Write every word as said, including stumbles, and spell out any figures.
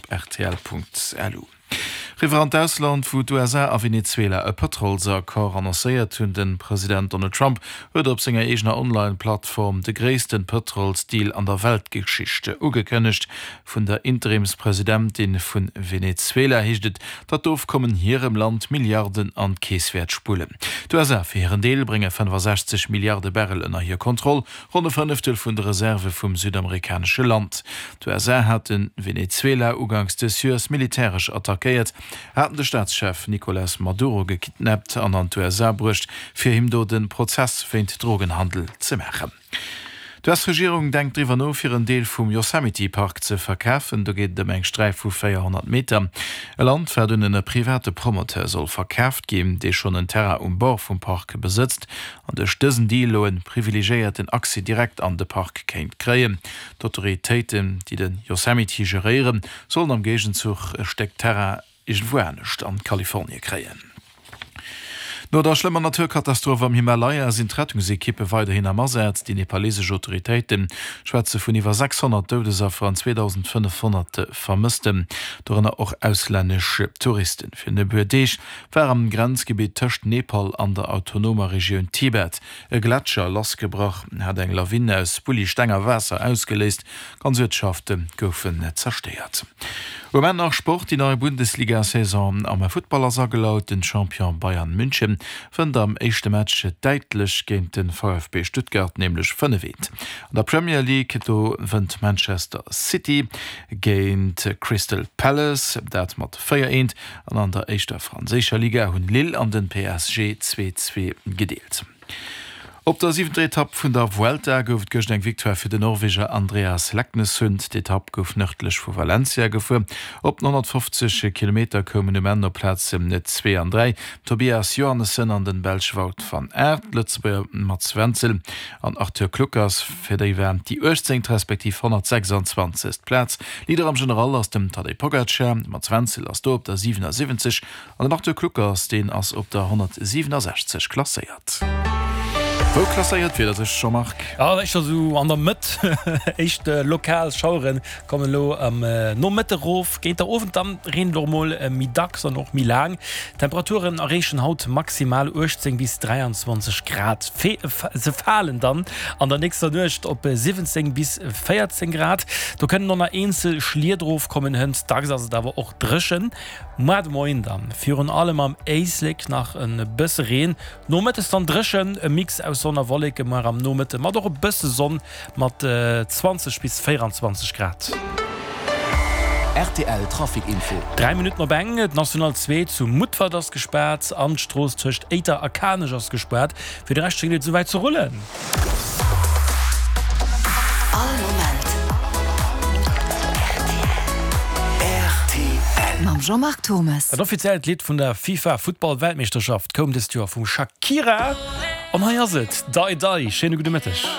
rtl.lu. Riwwer an d'Ausland, wou d'USA a Venezuela e Pëtrolsaccord annoncéiert hunn. De President Donald Trump huet op senger eegener Online-Plattform de gréisste Pëtrolsdeal an der Weltgeschicht ugekënnegt. Vun der Interimspresidentin vu Venezuela heescht et, datt d'Ofkommen hirem Land Milliarden an d'Keess wäert spullen. D'USA fir hiren Deel brénge fënnefasechzeg Milliarde Barrel ënner hir Kontroll, ronn e Fënneftel vun de Reserve vum südamerikanesche Land. D'USA hate Venezuela uganks dës Joers militäresch attackéiert, haten de Staatschef Nicolas Maduro gekidnappt an an d'USA bruecht, fir him do de Prozess wéint Drogenhandel ze maachen. D'US-Regierung denkt driwwer no, fir en Deel vum Yosemite Park ze verkafen. Do geet et ëm eng Sträif vu véierhonnert Meter. E Land, wat un e private Promoteur soll verkaaft ginn, dee schonn en Terrain um Bord vum Park besëtzt an duerch dësen Deal elo e privilegéierten Accès direkt an de Park kéint kréien. D'Autoritéiten, déi de Yosemite geréieren, sollen am Géigenzuch e Stéck Terrain iergendwou anescht an Kalifornie kréien. No der schlëmmer Naturkatastroph am Himalaya sinn d'Rettungsekippe weiderhin am Asaz. Déi nepalesesch Autoritéite schwätze vun iwwer sechshonnert Doudesaffer an zweedausendfënnefhonnert Vermëssten, dorënner och auslännesch Touristen. Virun e puer Deeg war am Grenzgebitt tëscht Nepal an der autonomer Regioun Tibet e Gletscher lassgebrach, hat eng Lawin aus Bulli, Steng a Waasser ausgeléist. Ganz Uertschafte goufen zerstéiert. Um Enn nach Sport, Déi nei Bundesliga-Saison am Futtball ass agelaut. Den Champion Bayern München wënnt am éischte Match däitlech géint de V F B Stuttgart, nämlech fënnef eent. An der Premier League, do wënnt Manchester City géint Crystal Palace, dat mat véier eent. An an der éischter franséischer Liga hunn Lille an den P S G zwee zwee gedeelt. Op der siwenter Etapp vun der Vuelta gouf et gëscht eng Victoire fir den Norweger Andreas Leknessund. D'Etapp gouf nërdlech vu Valencia gefuer. Op den honnertfofzeg Kilometer koumen um Enn op Plazen zwee an dräi Tobias Johannessen an den Belsch Wout van Aert. D'Lëtzebuerger Mats Wenzel an Arthur Kluckers, fir déi war déi uechtzéngt respektiv honnertsechsanzwanzegst Plaz. Leader am General ass dem Tadej Pogacar. Mats Wenzel ass do op der siwenasiwwenzeg an den Arthur Kluckers, deen ass op der honnertsiwenasechzeg klasséiert. Wou klasséiert d'Wieder sech, Jean-Marc? Jo, éischter sou an der Mëtt. Éischt lokal Schauere kommen elo am Nomëtte rof. Géint der Owend dann reent et och mol méi dacks an och méi laang. D'Temperaturen erreechen haut maximal uechtzéng bis dräianzwanzeg Grad. Se falen dann an der nächster Nuecht op siwwenzéng bis véierzéng Grad. Do kënnen och nach eenzel Schliet rofkommen, hënt dacks ass et awer och dréchen. Muer de Moien dann virun allem am Éislek nach e bësse Reen, nomëttes dann dréchen, e Mix aus Sonn a Wolleke muer am Nomëtte mat och e bësse Sonn mat zwanzeg bis véieranzwanzeg Grad. Rtl Trafic Info. Dräi Minutten op eng, D'National zwee zu Mutfert ass gespaart an d'Strooss tëscht Éiter a Kanech ass gespaart. Fir de Rescht schéngt et souwäit ze rullen. All Moment rtl. Mam Jean-Marc Thommes. Dat offiziellt Lidd vun der FIFA Futtball Weltmeeschterschaft koum dëst Joer vum Shakira an hei ass et, Dai Dai. Schéine gudde Mëtteg.